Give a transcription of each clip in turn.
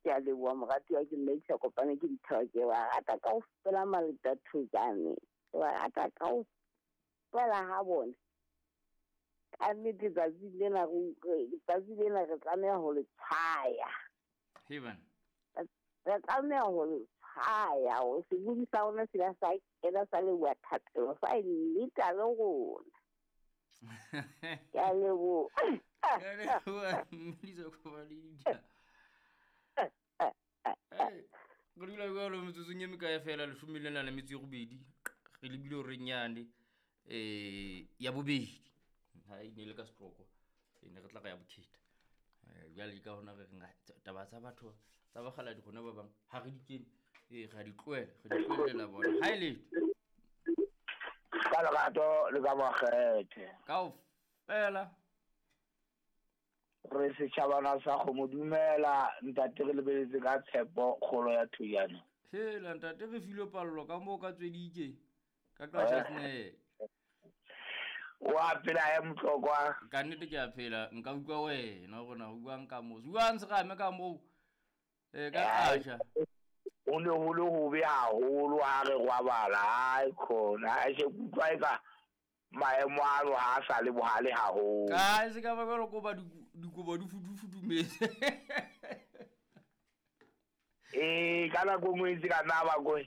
Ke a leboha moratuwa, ke mme ke sa kopane ke dithaba, ke ba rata kaofela Maleta Thojane, ke ba rata kaofela ha bona. Ka nnete tsatsi lena tsatsi lena re tlameha ho le tshwaya. Heban. Re tlameha ho le tshwaya hore sebodi sa rona se la sa kena sa leboha thapelo sa e nneta le rona. Ke a leboha. Ke a leboha, mme Lisa kopane le dithaba. Re dula jalo metsotsong e mekae fela leshome lena le metso e robedi re lebile horeng yane ya bobedi. Ha e ne le ka setloko e ne re tla re ya bokhetha. Jwale ka hona re reng taba tsa batho tsa bakgaladi rona ba bang ha re di kene, ra di tlohela, re di tlohelela bona. Ha e letho. Ka lerato le ka makgethe. Kaofela. Re setjhabana sa kgomo dumela ntate, re lebeletse ka tshepo kgolo ya Thojane. Hela ntate, re filwe pallo ka moo ka tswedike ka Qacha's Nek. Wa phela ya Motlokwa? Ka nnete ke a phela, nka utlwa wena hore na o buang ka moo. Buang serame ka moo. Ka Qacha. O ne ho le hobe haholo ha re robala, hai khona, ha se kutlwa e ka maemo ano ha a sa le bohale haholo. Ka se ka ba jwalo ko ba dikobo di futu-futumetse. Ee, ka nako nngwe e ntse ka nna ba ko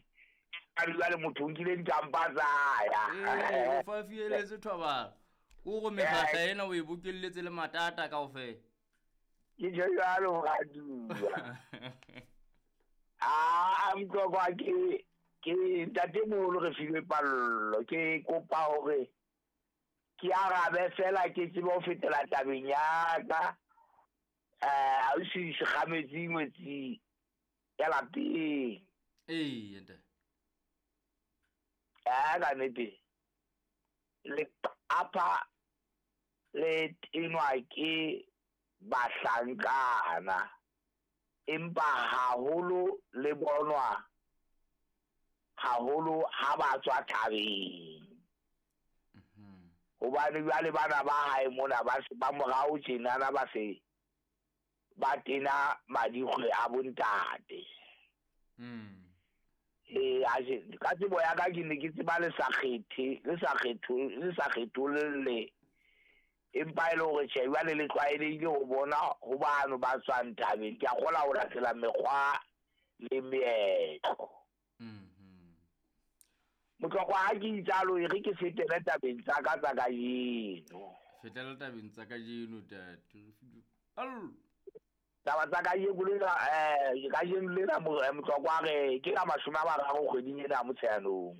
a dula le motho o nkile dikampa tsa ya. Ee, o fa fieletse thobalo. Ko go mekgahla ena o e bokelletse le matata kaofela. Ke tjho jwalo moratuwa. A Motlokwa, ke ntate moholo re filwe pallo, ke kopa hore ke arabe fela ke tsebe ho fetela tabeng ya ka. Ausi Sekgametsi ngwetsi ya lapeng. Ee, ntate. Ka nnete leqapha le tenwa ke bahlankana, empa haholo le bonwa haholo ha ba tswa thabeng. Hobane jwale bana ba hae mona ba se ba morao tjenana ba se ba tena madikgwe a bontate. Ee, ka tsebo ya ka ke ne ke tseba le sa kgethe, le sa kgetho, le sa kgetholle. Empa e le hore tjhe, jwale le tlwaelehile ho bona ho bano ba tswang thabeng. Ke a kgola ho latela mekgwa le meetlo. Motlokwa ha ke itsalo, e re ke fetele tabeng tsa ka tsa kajeno. Fetela tabeng tsa kajeno, tate. Allo. Taba tsa kajeno lena, kajeno lena, Motlokwa re ke ka 30 kgweding ena ya Motsheanong.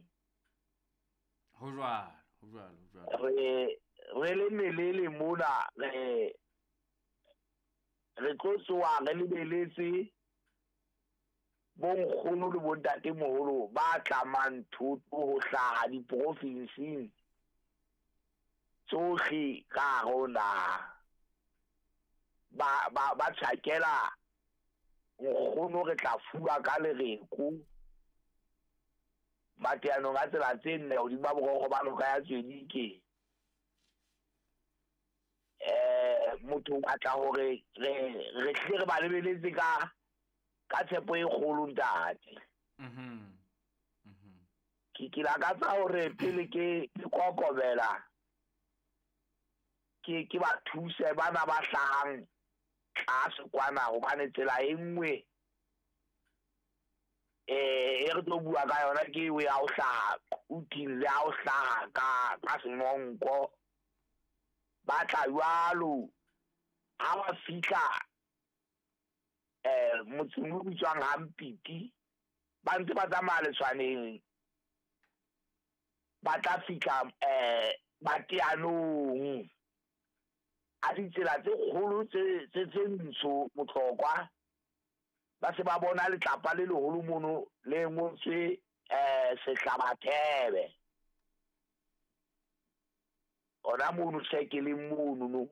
Ho jwalo, ho jwalo, ho jwalo. Re le melele mona, re tlo tsoha re lebeletse bonkgono le bontatemoholo ba tlamang thoto ho hlaha diprofinsing tsohle ka hare ho naha. Ba tjhakela nkgono, re tla fuwa ka lereko mateanong a tsela tse nne hodima borokgo ba noka ya Tswedike. Motho o batla hore re hle re ba lebeletse ka tshepo e kgolo ntate. Ke lakatsa hore pele ke kokobela ke ba thuse bana ba hlahang tlase kwana, hobane tsela e nngwe e re tlo bua ka yona ke eo ya ho hlaha Quthing le ya ho hlaha ka Senonko. Ba tla jwalo ha ba fihla motseng o bitswang Hampiti, ba ntse ba tsamaya letshwaneng, ba tla fihla mateanong a ditsela tse kgolo tse ntsho Motlokwa. Ba se ba bona letlapa le leholo mono le ngotswe Sehlabathebe. Hona mono sekeleng mono no.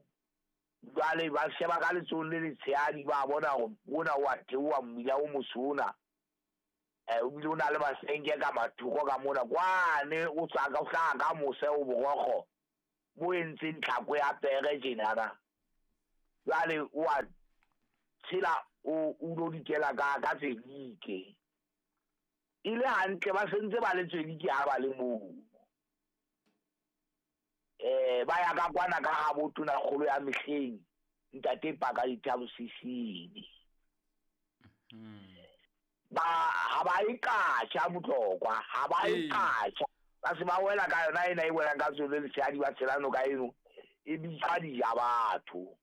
Jwale ba sheba ka letsohong le letshehadi, ba bona hore mona wa theoha mmila o motsho ona. O bile o na le masenke ka mathoko ka mona. Kwane o tswa ka, o hlaha ka mose o borokgo bo entseng tlhako ya pere tjenana. Jwale o a tshela o lo dikela ka Tswedike. E le hantle ba sentse ba le Tswedike ha ba le moo. Ba ya ka kwana ka ha botona kgolo ya mehleng ntate Paka Dithabo Sisini. Ba ha ba iqasha Motlokwa, ha ba iqasha. Ba se ba wela ka yona ena e welang ka tsone lesedi ba tshela noka eno e bitsa dija batho.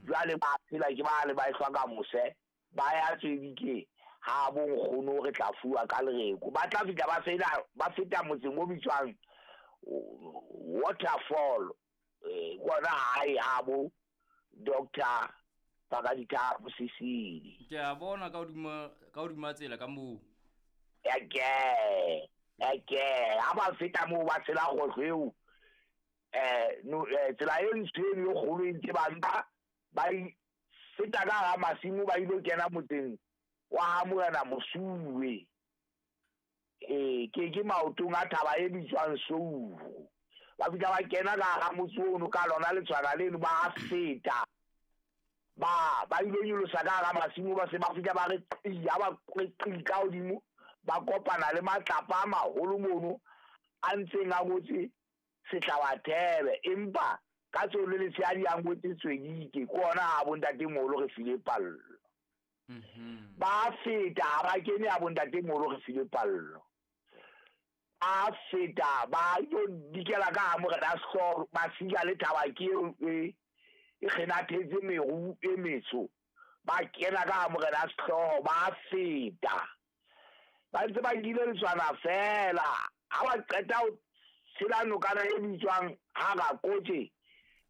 Jwale ba phela ke ba le ba ehlwa ka mose ba ya Tswedike ha bo nkgono re tla fuwa ka lereko. Ba tla fihla ba fela ba feta motseng o bitswang Waterfall, kona hae ha bo Dr. Pakadithabo Sisini. Ke a bona ka hodima tsela ka moo. Eke ha ba feta moo ba tshela kgohlo eo, tsela e ntsho eno e kgolo e ntse ba nka ba feta ka hara masimo ba ilo kena motseng wa ha Morena Mosuwe. Ke maotong a thaba e bitswang Souru. Ba fihla ba kena ka hara motse ono ka lona letshwana leno ba feta. Ba ilo nyolosa ka hara masimo ba se ba fihla ba re qi, ha ba qi ka hodimo ba kopana le matlapa a maholo mono a ntseng a ngotse Sehlabathebe, empa ka tsone lesedi a ngotse Tswedike ke ona ha bontatemoholo re file pallo. Ba feta ha ba kene ha bontatemoholo re file pallo. A feta ba yo dikela ka ha Morena Sehloho ba sika le thaba ke eo e kgenathetse meru e metsho. Ba kena ka ha Morena Sehloho ba feta. Ba ntse ba nkile letshwana fela. Ha ba qeta ho tshela nokana e bitswang Harakotje,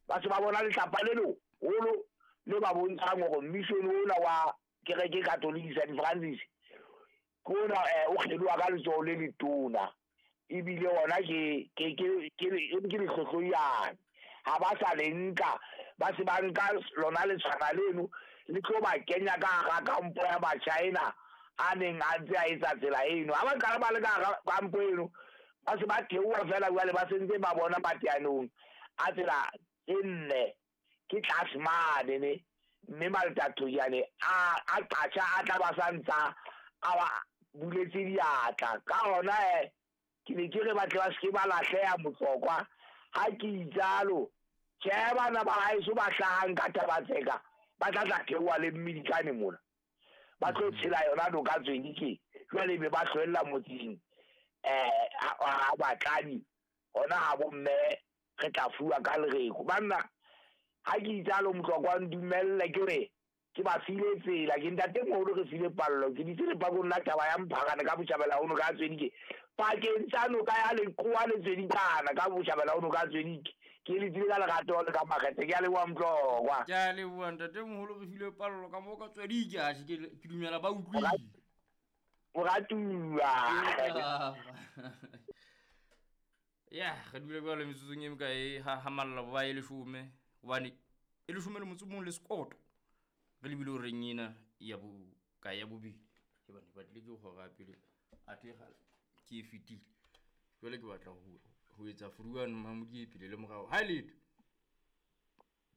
ba se ba bona letlapa le leholo le ba bontshang hore mission ona wa kereke Catholic Saint Francis ke ona o kgeloha ka letsoho le letona. Ebile ona ke lehlohloyane. Ha ba sa le nka, ba se ba nka lona letshwana leno le tlo ba kenya ka hara kampo ya Machina a neng a ntse a etsa tsela eno. Ha ba qala ba le ka hara kampo eno, ba se ba theoha fela jwale ba sentse ba bona mateanong a tsela tse nne ke tlase mane ne, mme Maltathojane a qatjha a tla ba sa ntsa a ba buletse diatla. Ka hona ke ne ke re ba tle ba seke ba lahleha Motlokwa. Ha ke itsalo, tjhe bana ba haeso ba hlahang ka Thabatseka ba tla tla theoha le Mmidikane mona. Ba tlo tshela yona noka Tswedike jwale be ba hlwella motseng ha batladi hona ha bomme re tla fuwa ka lereko. Banna ha ke itsalo Motlokwa ndumelle ke re ke ba file tsela, ke ntatemoholo re file pallo, ke ditse lepakong la taba ya Mphakane ka botjhabela ho noka ya Tswedike pakeng tsa noka ya Leqoa le Tswedikana ka botjhabela ho noka ya Tswedike. Ke letsile ka lerato le ka makgethe. Ke a leboha Motlokwa. Ke a leboha ntatemoholo re file pallo ka moo ka Tswedike. Atjhe ke dumela ba utlwile. Moratuwa. Ya re dule jwalo metsotsong e mekae ha malla ba e leshome, hobane e leshome le motso o mong le sekoto. Re lebile horeng ena ya ka ya bobedi. Ke bane batlile ke hora pele athe kgale ke e fetile. Jwale ke batla ho etsa furuane Mamodi e pele le morao. Ha letho.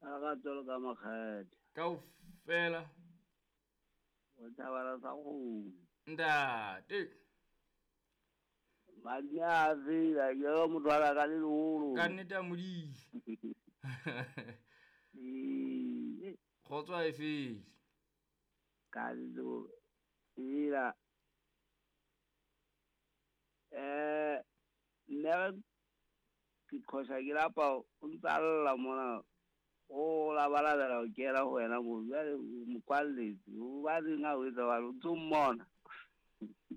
A ra tswela ka makgethe. Kaofela. O thabela sa kgomo. Ntate. Madume a fela, ke re motho wa ka le leholo. Ka nnete a Modimo. Kgotso ha e fele. Ka ntlo ela nne ke qhosa ke lapa o ntsa lla mona o labalabela ho kena ho wena mo jwale o mo kwalletse o baneng ha o etsa jwalo o ntso mmona.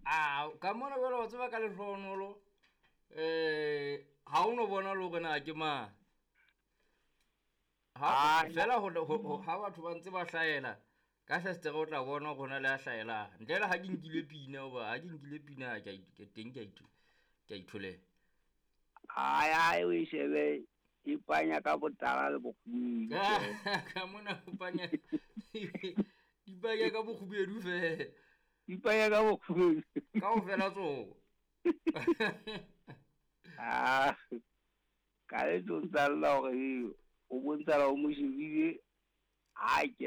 A ka mona jwale wa tseba ka lehlohonolo ha o no bona le hore na ke mang. Ha fela ha batho ba ntse ba hlahela ka festere o tla bona hore hona le a hlahelang. Ntle le ha ke nkile pina hoba ha ke nkile pina ke teng ke a itholela. Ai o e shebe e panya ka botala le bokgubedu. Ka mona o panya di panya ka bokgubedu fela. Di panya ka bokgubedu. Kaofela tsona. Ah ka le tlo ntsa lla hore o bontsha o mo shebile ha ke